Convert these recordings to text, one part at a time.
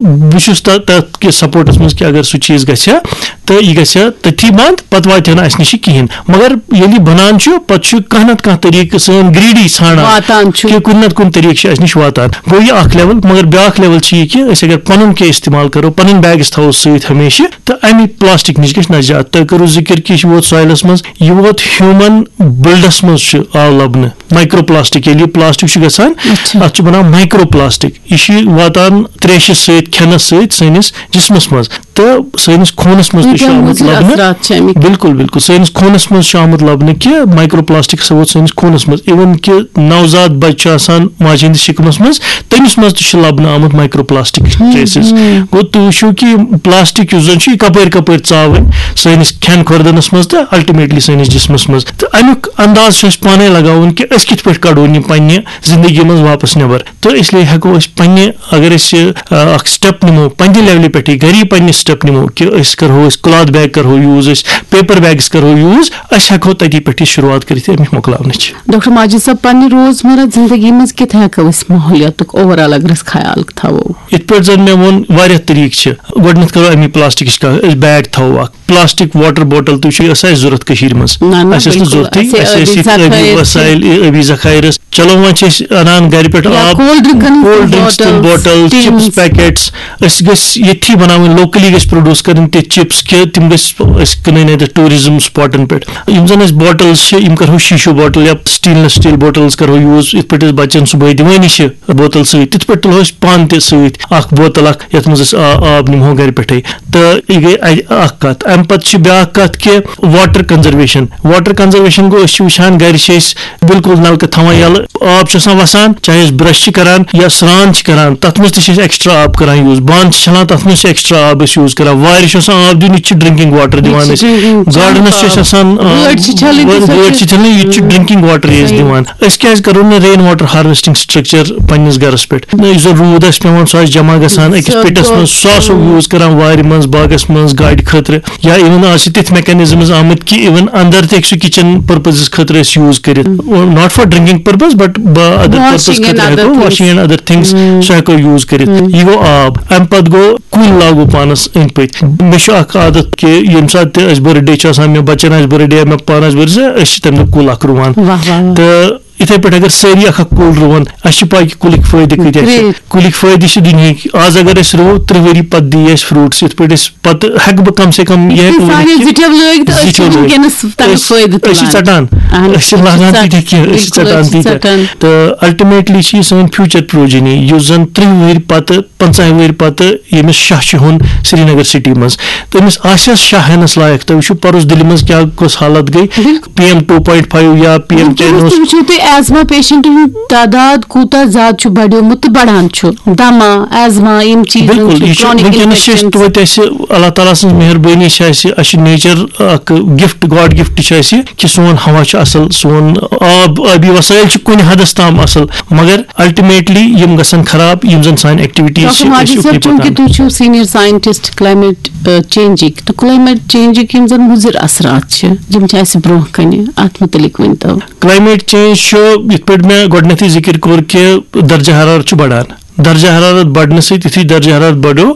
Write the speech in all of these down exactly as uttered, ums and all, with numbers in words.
بہٕ چھُس تَ- تَتھ کِس سپورٹَس منٛز کہِ اگر سُہ چیٖز گژھِ ہا تہٕ یہِ گژھِ ہا تٔتھی بنٛد، پَتہٕ واتہِ ہا نہٕ اَسہِ نِش یہِ کِہیٖنۍ۔ مگر ییٚلہِ یہِ بَنان چھُ، پَتہٕ چھُ کانٛہہ نَتہٕ کانٛہہ طریٖقہٕ سٲنۍ گریٖڈی ژھانٛڈان واتان چھُ۔ کہِ کُنہِ نَتہٕ کُنہِ طریٖقہٕ چھُ اَسہِ نِش واتان۔ گوٚو یہِ اَکھ لیول، مگر بیٛاکھ لیول چھُ یہِ کہِ أسۍ اگر پَنُن کینٛہہ استعمال کَرو، پَنٕنۍ بیگٕز تھاوو سۭتۍ ہمیشہِ، تہٕ اَمی پلاسٹِک نِش گژھِ نجات۔ تۄہہِ کٔرٕو ذِکِر کہِ یہِ چھُ ووت سویلَس منٛز، یہِ ووت ہیوٗمَن بٕلڈَس منٛز چھُ آو لَبنہٕ۔ مایکرو پلاسٹک، ییٚلہِ یہِ پلاسٹک چھُ گژھان، اچھا۔ اَتھ چھُ بَنان مایکرو پلاسٹک۔ یہِ چھُ واتان تریشہِ سۭتۍ، کھٮ۪نَس سۭتۍ سٲنِس جسمَس منٛز تہٕ سٲنِس خوٗنَس منٛز تہِ چھُ کۭتیٛاہ آمُت مُضِر لَبنہٕ۔ اثرات چھِ اَمِکۍ؟ بِلکُل، بِلکُل۔ سٲنِس خوٗنَس منٛز چھُ آمُت لَبنہٕ کہِ مایکرو پلاسٹک ہسا ووت سٲنِس خوٗنَس منٛز۔ اِوٕن کہِ نوزاد بَچہٕ چھُ آسان ماجہِ ہِنٛدِس شِکمَس منٛز، تٔمِس منٛز تہِ چھُ لَبنہٕ آمُت مایکرو پلاسٹک ٹریسز۔ گوٚو، تُہۍ وٕچھِو کہِ یہِ پلاسٹک یُس زَن چھُ، یہِ کَپٲرۍ کَپٲرۍ ژاوٕنۍ سٲنِس کھٮ۪ن خوردنَس منٛز تہٕ الٹیمیٹلی سٲنِس جسمَس منٛز۔ تہٕ اَمیُک انداز چھُ اَسہِ پانَے لگاوُن کہِ أسۍ کِتھ پٲٹھۍ کَڑون یہِ پنٛنہِ زندگی منٛز واپس نٮ۪بر۔ تہٕ اس لیے ہٮ۪کو أسۍ پنٛنہِ، اگر أسۍ، آ، اکھ سٹیپ نِمو پنٛنہِ لیولہِ پٮ۪ٹھٕے، گَری پنٛنہِ سٹیپ نِمو کہِ أسۍ کَرہو، أسۍ کلاتھ بیگ کَرہو یوٗز، أسۍ پیپر بیگٕز کَرہو یوٗز، أسۍ ہٮ۪کو تَتی پٮ۪ٹھ یہِ شروٗعات کٔرِتھ اَمِچ مۄکلاونٕچ۔ ڈاکٹر ماجد صٲب، پننہِ روزمرہ زندگی منٛز کِتھ ہٮ۪کو أسۍ ماحولیاتُک اوور آل اگر أسۍ خیال تھاوو؟ یِتھ پٲٹھۍ زَن مےٚ ووٚن، واریاہ طریٖقہٕ چھِ۔ گۄڈٕنٮ۪تھ کَرو اَمی پلاسٹکٕچ کَتھ، أسۍ بیگ تھاوو اَکھ، پلاسٹک واٹر بوٹل تہِ چھُ آسان اَسہِ ضوٚرَتھ کٔشیٖرِ منٛز۔ نہ، نہ، اَسہِ ٲسۍ نہٕ بِلکُل۔ ضوٚرتھٕے، اَسہِ اَسہِ ٲسۍ ٲبی ییٚتہِ ٲبی ذخٲیِر چھِ۔ وسایل، ٲبی ذخٲیرَس۔ چلو، وۄنۍ چھِ أسۍ اَنان گَرِ پٮ۪ٹھ یا آب، کولڈ ڈرنکَن ہٕنٛز کولڈ ڈرنکس تِم bottles, bottles, tins. Chips packets. أسۍ گٔژھۍ ییٚتھی بَناوٕنۍ، لوکلی گٔژھۍ پروڈیوس کَرٕنۍ تِتھۍ چپس کہِ تِم گٔژھۍ أسۍ کٕنٕنۍ اَتہِ ٹوٗرِزم سپاٹن پٮ۪ٹھ۔ یِم زَن اَسہِ بوٹلز چھِ، یِم کَرہو شیٖشو بوٹل یا سٹینلس سٹیٖل بوٹلز کَرہو یوٗز، یِتھ پٲٹھۍ أسۍ بَچَن صُبحٲے دِوٲنی چھِ بوتل سۭتۍ، تِتھ پٲٹھۍ تُلہو أسۍ پانہٕ تہِ سۭتۍ اَکھ بوتل اَکھ، یَتھ منٛز أسۍ آ-، آب نِمہو گَرِ پٮ۪ٹھَے۔ تہٕ یہِ گٔے اَ-، اَکھ کَتھ۔ اَمہِ پَتہٕ چھِ بیٛاکھ کَتھ کہِ واٹر کنزرویشن۔ واٹر کنزرویشن گوٚو، أسۍ چھِ وٕچھان گَرِ چھِ أسۍ بِلکُل نَلکہٕ تھاوان یَلہٕ، آب چھُ آسان وَسان، چاہے أسۍ برش چھِ کَران یا سرٛان چھِ کَران، تَتھ منٛز تہِ چھِ أسۍ ایکسٹرا آب کَران یوٗز۔ بانہٕ چھِ چھَلان، تَتھ منٛز چھِ ایکسٹرا آب أسۍ یوٗز کَران۔ وارِ چھُ آسان آب دیُن، یہِ تہِ چھِ ڈرنکنگ واٹر دِوان أسۍ۔ گاڈنَس چھِ أسۍ آسان، آ، گٲڑۍ چھِ چھَلٕنۍ تہِ، وٲ-، سۄ گٲڑۍ تہِ۔ چھِ چھَلٕنۍ، یہِ تہِ چھِ صحیح۔ ڈرنکنگ واٹر أسۍ صحیح۔ دِوان۔ أسۍ کیٛازِ کَرو نہٕ رین واٹر ہارویسٹنگ سٹرکچر پننِس گَرَس پٮ۪ٹھ؟ نہ، یُس زَن روٗد آسہِ پٮ۪وان، سُہ آسہِ جمع گژھان أکِس سۄ پِٹَس گوٚو، منٛز، سُہ آسو اۭں۔ یوٗز کَران وارِ منٛز، باغَس منٛز، گاڑِ خٲطرٕ۔ یا اِوٕن آز چھِ تِتھۍ میکینزمز آمٕتۍ کہِ اِوٕن اندر تہِ ہیٚکہِ سُہ کِچن پٔرپزس خٲطرٕ أسۍ یوٗز کٔرِتھ۔ Not for drinking purpose, but other purpose washing and خٲطرٕ other ہٮ۪کو things۔ Washing and other things، اۭں۔ سُہ ہٮ۪کو یوٗز کٔرِتھ۔ اۭں۔ یہِ گوٚو آب۔ اَمہِ پَتہٕ گوٚو کُلۍ لاگو پانَس أنٛدۍ پٔتۍ۔ مےٚ چھُ اَکھ عادت کہِ ییٚمہِ ساتہٕ تہِ اَسہِ بٔرتھ ڈے چھُ آسان، مےٚ بَچَن آسہِ بٔرتھ ڈے یا مےٚ پانہٕ آسہِ بٔرتھ ڈے، أسۍ چھِ تَمہِ دۄہ کُل اَکھ رُوان۔ واہ، واہ، واہ۔ تہٕ یِتھَے پٲٹھۍ اگر سٲری اَکھ اَکھ کُل رُوَن، اَسہِ چھِ پَے کہِ کُلِکۍ فٲیدٕ کۭتیٛاہ چھِ۔ Great۔ کُلِکۍ فٲیدٕ چھِ دُنیہٕکۍ۔ آز اگر أسۍ رُوو، تٕرٛہ ؤری پَتہٕ دی اَسہِ فروٗٹٕس۔ یِتھ پٲٹھۍ أسۍ پَتہٕ ہٮ۪کہٕ بہٕ کم سے کم یہِ ہٮ۪کہٕ سانٮ۪ن ؤنِتھ کہِ زِٹھٮ۪ن لٲگۍ تہٕ أسۍ چھِ زِٹھٮ۪ن لٲگۍ۔ وٕنکیٚنَس تَمیُک أسۍ، فٲیدٕ أسۍ چھِ تُلان۔ ژَٹان۔ اَہَن حظ، أسۍ چھِ أسۍ چھِ لاگان ژَٹ-، تیٖتیٛاہ کینٛہہ، أسۍ چھِ بِلکُل، ژَٹان أسۍ چھِ تیٖتیٛاہ۔ ژَٹان۔ تہٕ ultimately چھِ یہِ سٲنۍ future progeny، یُس زَن تٕرٛہ ؤہٕرۍ پَتہٕ، پنٛژاہ ؤہٕرۍ پَتہٕ ییٚمِس شاہ چھُ ہیوٚن سرینگر سٹی منٛز، تٔمِس آسٮ۪س شاہ ہٮ۪نَس لایق۔ تُہۍ وٕچھِو پَرُس دِلہِ منٛز کیٛاہ کۄس حالت گٔے۔ بِلکُل۔ P M two point five یا پی ایم ٹین وٕنکیٚنَس اوس۔ تہِ وٕچھِو تُہۍ، ایزما پیشنٹن ہُنٛد تعداد کوٗتاہ زیادٕ چھُ بڑیومُت تہٕ بڑان چھُ۔ دما، ایزما، یِم چیٖز بِلکُل، چھِ، یہِ چھُ chronic وٕنکیٚنَس چھِ أسۍ infections۔ توتہِ اَسہِ اللہ تعالیٰ سٕنٛز مہربٲنی چھِ اَسہِ، اَسہِ چھُ nature اَکھ gift، God gift چھُ اَسہِ کہِ سون ہوا چھُ اَصٕل، سون آب، آبی وسٲیِل چھِ کُنہِ حدس تام اَصٕل، مگر ultimately یِم گژھن خراب، یِم زَن سانہِ activities ڈاکٹر چھِ، أسۍ ماجد اُکنُے صٲب، چوٗنٛکہِ پَکان۔ تُہۍ چھِو senior scientist climate، آ، changeٕکۍ، تہٕ climate changeٕکۍ یِم زَن مُضِر اثرات چھِ، یِم چھِ اَسہِ برٛونٛہہ کَنہِ، اَتھ مُتعلِق ؤنۍ تو۔ Climate change چھُ، یِتھ پٲٹھۍ مےٚ گۄڈٕنٮ۪تھٕے ذِکِر کوٚر کہِ درجہ حرارت چھُ بڑان۔ درجہ حرارت بڑنہٕ سۭتۍ، یُتھُے درجہ حرارت بڑیو،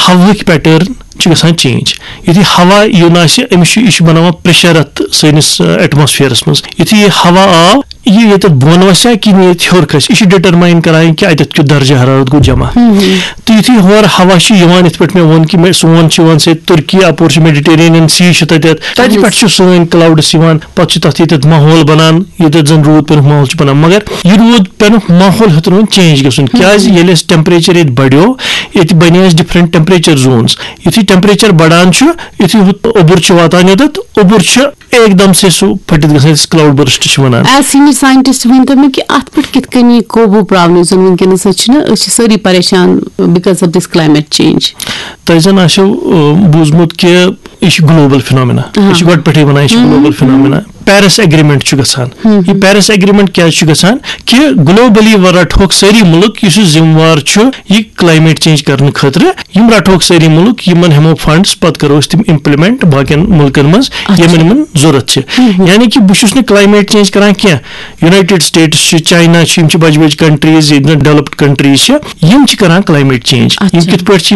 ہوہٕکۍ pattern چھِ گژھان change۔ یُتھُے ہوا یُن آسہِ، أمِس چھُ، یہِ چھُ بناوان pressure اَتھ سٲنِس، آ، atmosphereس منٛز۔ یُتھُے یہِ ہوا آو، یہِ ییٚتٮ۪تھ بۄن وَسہِ ہا کِنہٕ ییٚتہِ ہیوٚر کھسہِ، یہِ چھُ determine کران کہِ اَتٮ۪تھ کیُتھ درجہ حرارت گوٚو جمع۔ تہٕ یُتھُے ہورٕ ہوا چھُ یِوان، یِتھ پٲٹھۍ مےٚ ووٚن کہِ مےٚ، سون چھُ یِوان سۭتۍ تُرکی، اَپور چھُ Mediterranean Sea چھُ تَتٮ۪تھ، تَتہِ پٮ۪ٹھ چھُ سٲنۍ clouds یِوان، پَتہٕ چھُ تَتھ ییٚتٮ۪تھ ماحول بَنان، ییٚتٮ۪تھ زَن روٗد پٮ۪نُک ماحول چھُ بَنان۔ مگر یہِ روٗد پٮ۪نُک ماحول ہیوٚت نہٕ وۄنۍ change گژھُن۔ کیٛازِ؟ ییٚلہِ اَسہِ temperature ییٚتہِ بڑیو، ییٚتہِ بَنے اَسہِ different temperature zones۔ یُتھُے temperature بڑان چھُ، یُتھُے ہُہ اوٚبُر چھُ واتان یوٚتَتھ، اوٚبُر چھُ ایک دم سے سُہ پھٔٹِتھ گژھان، یَتھ أسۍ cloud burst چھِ وَنان۔ As senior scientist ؤنۍ تو مےٚ کہِ اَتھ پٮ۪ٹھ کِتھ کٔنۍ یی قوبوٗ پاونہٕ، یُس زَن وٕنکیٚنَس أسۍ چھِنہ، أسۍ چھِ سٲری پریشان because of this climate change۔ تۄہہِ زَن آسیو، آ، بوٗزمُت کہِ یہِ چھُ global phenomena۔ یہِ چھُ گۄڈٕ پٮ۪ٹھٕے وَنان، یہِ چھُ global phenomena۔ پیرس ایگریمنٹ چھُ گژھان۔ یہِ پیرس ایگریمنٹ کیازِ چھُ گژھان؟ کہِ گلوبلی رٹہوکھ سٲری مُلک، یُس یہِ ذمہٕ وار چھُ یہِ کلائمیٹ چینج کرنہٕ خٲطرٕ، یِم رٹہوکھ سٲری مُلک، یِمن ہٮ۪مو فنڈس، پتہٕ کرو أسۍ تِم امپلیمنٹ باقین مُلکن منٛز، یِمن یِمن ضروٗرت چھِ۔ یعنی کہِ بہٕ چھُس نہٕ کلائمیٹ چینج کران کینٛہہ۔ یونائٹڈ سٹیٹس چھِ، چائنا چھِ، یِم چھِ بجہِ بجہِ کنٹریز، ییٚتہِ زن ڈیولپڈ کنٹریز چھِ، یِم چھِ کران کلائمیٹ چینج۔ یِم کِتھ پٲٹھۍ چھِ؟